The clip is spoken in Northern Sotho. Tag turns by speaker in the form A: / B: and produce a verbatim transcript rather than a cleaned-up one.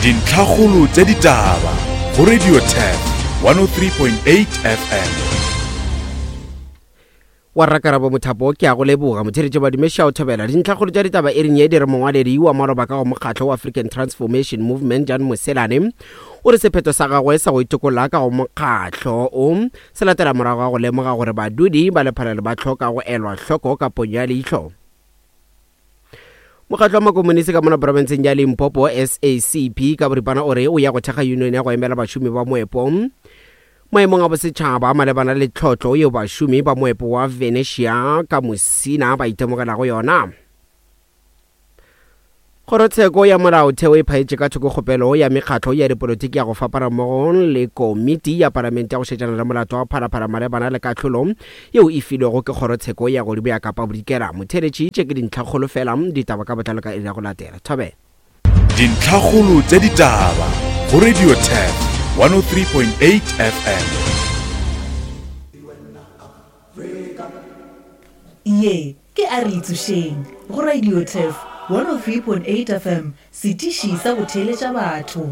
A: Dintlhakgolo tša ditaba go Radio Turf one oh three point eight F M.
B: Wa Rakarabo Mothapo, ke a go leboga. Motheeletši Badumeša o thobela dintlhakgolo tša ditaba e reng ye di re mongwaledi wa maloba ka go mokgatlo wa African Transformation Movement Jan Moselane o re sephetho sa gagwe sa go itokolla ka go mokgatlo o se latela morago ga go lemoga gore badudi ba lephalale ba hloka go elwa hloko ka ponyo ya leihlo. Mokgatlo wa makomonisi ka mona profenseng ya Limpopo S A C P ka boripana o re o ya go thekga union ya go emela bašomi ba moepo maemong a bosetšhaba malebana le tlhotlo yeo bašomi ba moepo wa Venetia ka Musina ba itemogelago yona. Kgorotsheko ya molaotheo e phaetše ka thoko kgopelo ya mekgatlo ya dipolotiki ya go fapana mmogo le komiti ya palamente ya go šetšana le molato wa Phalaphala malebana le kahlolo yeo e filwego ke kgorotsheko ya godimo ya Kapa Bodikela. Motheeletši, tše ke dintlhakgolo fela, ditaba ka botlalo ka iri ya go latela. Thobela.
A: Dintlhakgolo tša ditaba go Radio Turf one oh three point eight F M.
C: Ye ke a re itsošeng go Radio Turf one oh three point eight F M, setiši sa go theeletša batho.